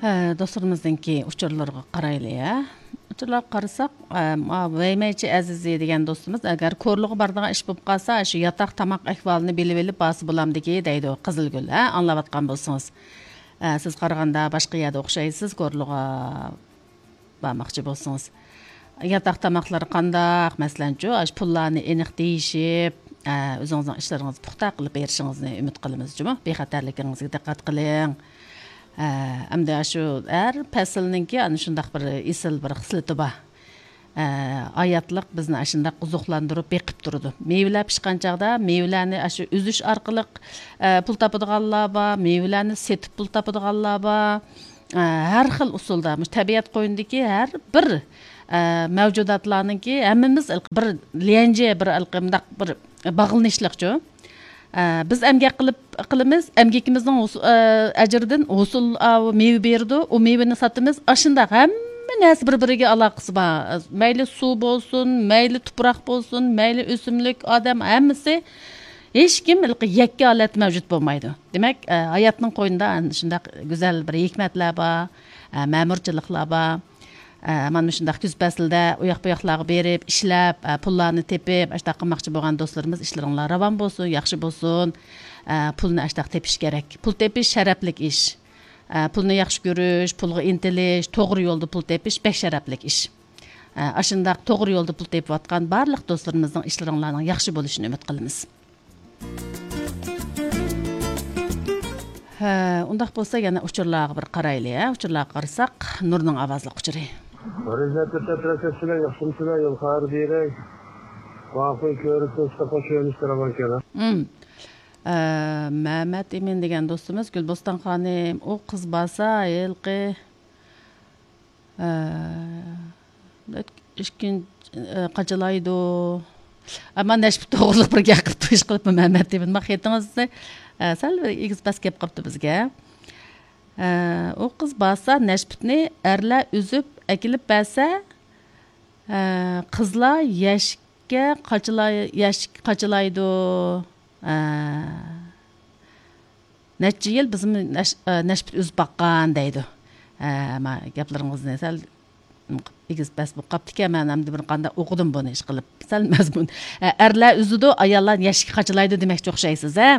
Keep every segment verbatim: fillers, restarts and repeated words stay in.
ئە، دوستلىرىمىزنىڭكى ئۇچۇرلىرىغا قارايلى، ھە. ئۇچۇرلارغا قارىساق، ئە، ما، ۋەيمەيچى ئەزىزى دېگەن دوستىمىز، ئەگەر كورلىغا بارىدىغان ئىش بولۇپ قالسا، شۇ ياتاق تاماق ئەھۋالىنى بىلىۋېلىپ بارسا بولامدىكى دەيدۇ، قىزىلگۈل، ھە، ئاڭلاۋاتقان بولسىڭىز. ئە، سىز قارىغاندا باشقا يەردە ئوخشايسىز، كورلىغا بارماقچى بولسىڭىز. ياتاق تاماقلىرى قانداق؟ مەسىلەنچۇ، ئاشۇ پۇللارنى ئېنىق دېيىشىپ، ئە، ئۆزىڭىزنىڭ ئىشلىرىڭىزنى پۇختا قىلىپ بېرىشىڭىزنى ئۈمىد قىلىمىز جۇمۇ. بىخەتەرلىكىڭىزگە دىققەت قىلىڭ. ئە، ئەمدى ئاشۇ ھەر پەسىلنىڭكى ئەنە شۇنداق بىر ئېسىل بىر خىسلىتى بار. ئە، ھاياتلىق بىزنى ئاشۇنداق ئوزۇقلاندۇرۇپ بېقىپ تۇرىدۇ. مېۋىلەر پىشقان چاغدا مېۋىلەرنى ئاشۇ ئۈزۈش ئارقىلىق، ئە، پۇل تاپىدىغانلار بار، مېۋىلەرنى سېتىپ پۇل تاپىدىغانلار بار. ئە، ھەر خىل ئۇسۇلدا، مۇشۇ تەبىئەت قوينىدىكى ھەر بىر، ئە، مەۋجۇداتلارنىڭكى ھەممىمىز بىر ليەنجيې، بىر مۇنداق بىر باغلىنىشلىقچۇ. ئە، بىز ئەمگەك قىلىپ، قىلىمىز، ئەمگىكىمىزنىڭ ھوس-، ئە، ئەجرىدىن ھوسۇل، ئاۋۇ مېۋە بېرىدۇ، ئۇ مېۋىنى ساتىمىز. ئاشۇنداق ھەممە نەرسە بىر-بىرىگە ئالاقىسى بار. مەيلى سۇ بولسۇن، مەيلى تۇپراق بولسۇن، مەيلى ئۆسۈملۈك، ئادەم، ھەممىسى، ھېچكىم ھېلىقى يەككە ھالەتتە مەۋجۇت بولمايدۇ. دېمەك، ئە، ھاياتنىڭ قوينىدا ئەنە شۇنداق گۈزەل بىر ھېكمەتلەر بار، ئە، مەمۇرچىلىقلار بار. ئە، مانا مۇشۇنداق كۈز پەسلىدە ئۇياق بۇياقلارغا بېرىپ، ئىشلەپ، ئە، پۇللارنى تېپىپ، ئاشۇنداق قىلماقچى بولغان دوستلىرىمىز، ئىشلىرىڭلار راۋان بولسۇن، ياخشى بولسۇن. ئە، پۇلنى ئاشۇنداق تېپىش كېرەك. پۇل تېپىش شەرەپلىك ئىش. ئە، پۇلنى ياخشى كۆرۈش، پۇلغا ئىنتىلىش، توغرا يولدا پۇل تېپىش بەك شەرەپلىك ئىش. ئە، ئاشۇنداق توغرا يولدا پۇل تېپىۋاتقان بارلىق دوستلىرىمىزنىڭ ئىشلىرىڭلارنىڭ ياخشى بولۇشىنى ئۈمىد قىلىمىز. ھە، ئۇنداق بولسا يەنە ئۇچۇرلارغا بىر قارايلى، ھە؟ ئۇچۇرلارغا قارىساق، نۇرنىڭ ئاۋازلىق ئۇچۇرى. رىزەتتە تەترەسەتسىلەر، ياخشىمسىلەر، يول خەۋەر بېرەي. ۋاقىت كۆرۈپ تۇرسا، خوش كۆرۈنۈشتە راۋان كېلە. ئە، مەمەت ئىمىن دېگەن دوستىمىز، گۈلبوستان خانىم، ئۇ قىز بارسا، ھېلىقى ئىككىنچى، قاچىلايدۇ. ئەمما نەشپۈت توغرىلىق بىر گەپ قىلىپ، تويۇش قىلىپمۇ مەمەت دېمىدى. ما خېتىڭىزنى، سەل بىر ئېگىز پەس كەپ قاپتۇ بىزگە. ئۇ قىز بارسا، نەشپۈتنى ئەرلەر ئۈزۈپ ئەكېلىپ بەرسە، قىزلار يەشىككە قاچىلاي-، يەشىككە قاچىلايدۇ. نەچچە يىل بىزمۇ نەش-، ئە، نەشپۈت ئۈزۈپ باققان دەيدۇ. ئە، ما گەپلىرىڭىزنى سەل ئېگىز پەس بولۇپ قاپتىكەن، مەن ئەمدى بىر قانداق ئوقۇدۇم بۇنى ئىشقىلىپ. سەل مەزمۇن. ئە، ئەرلەر ئۈزىدۇ، ئاياللار يەشىككە قاچىلايدۇ دېمەكچى ئوخشايسىز، ھە؟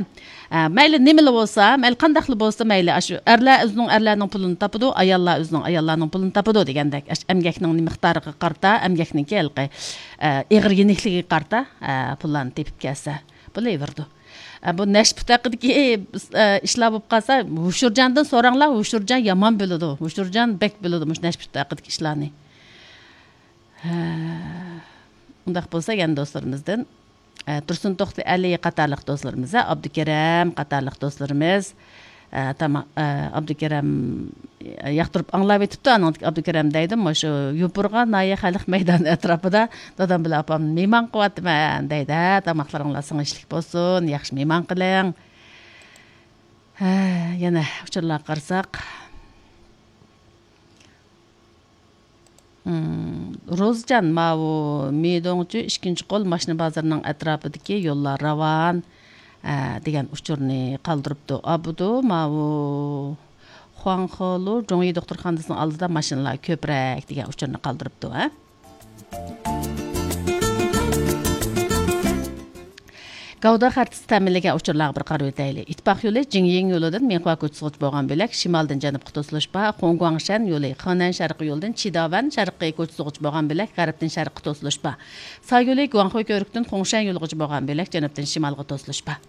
ئە، مەيلى نېمىلا بولسا، مەيلى قانداقلا بولسا، مەيلى ئاشۇ ئەرلەر ئۆزىنىڭ ئەرلەرنىڭ پۇلىنى تاپىدۇ، ئاياللار ئۆزىنىڭ ئاياللارنىڭ پۇلىنى تاپىدۇ دېگەندەك. ئەش-، ئەمگەكنىڭ مىقدارىغا قارىتا، ئەمگەكنىڭكى ھېلىقى، ئە، ئېغىر يېنىكلىكىگە قارىتا، ئە، پۇللارنى تېپىپ كەلسە بولۇۋېرىدۇ. ئە، بۇ نەشپۈت ھەققىدىكى، ئە، ئىشلار بولۇپ قالسا، ھوشۇرجاندىن سوراڭلار، ھوشۇرجان يامان بىلىدۇ، ھوشۇرجان بەك بىلىدۇ مۇشۇ نەشپۈت ھەققىدىكى ئىشلارنى. ھە، ئۇنداق بولسا يەنە دوستلىرىمىزدىن، ئە، تۇرسۇن توختى ئەلى قاتارلىق دوستلىرىمىز، ھە، ئابدۇكېرەم قاتارلىق دوستلىرىمىز، ئە، تاما-، ئە، ئابدۇكېرەم ياقتۇرۇپ ئاڭلاۋېتىپتۇ، ئانىڭدىكى ئابدۇكېرەم دەيدۇ، مۇشۇ يوپۇرغا ناھىيە خەلق مەيدانى ئەتراپىدا دادام بىلەن ئاپامنى مېھمان قىلىۋاتىمەن دەيدۇ. ھە، تاماقلىرىڭلار سىڭىشلىك بولسۇن، ياخشى مېھمان قىلىڭ. ھە، يەنە ئۇچۇرلارغا قارىساق. مم، روزجان، ماۋۇ مىدوڭچۈ ئىككىنچى قول ماشىنا بازىرىنىڭ ئەتراپىدىكى يوللار راۋان، ئە، دېگەن ئۇچۇرنى قالدۇرۇپتۇ. ئابدۇ، ماۋۇ خۇاڭخېلۇ جۇڭيى دوختۇرخانىسىنىڭ ئالدىدا ماشىنىلار كۆپرەك دېگەن ئۇچۇرنى قالدۇرۇپتۇ، ھە؟ گاۋدا خەرىتىسى تەمىنلىگەن ئۇچۇرلارغا بىر قارىۋېتەيلى. ئىتتىپاق يولى جىڭيىڭ يولىدىن مىڭخۇا كوچىسىغىچە بولغان بۆلەك شىمالدىن جەنۇبقا توسۇلۇش بار. خۇڭگۇاڭشەن يولى خېنەن شەرقىي يولىدىن چىداۋەن شەرقىي كوچىسىغىچە بولغان بۆلەك غەربتىن شەرققە توسۇلۇش بار. سا يولى گۇاڭخۇي كۆۋرۈكتىن خۇڭشەن يولىغىچە بولغان بۆلەك جەنۇبتىن شىمالغا توسۇلۇش بار.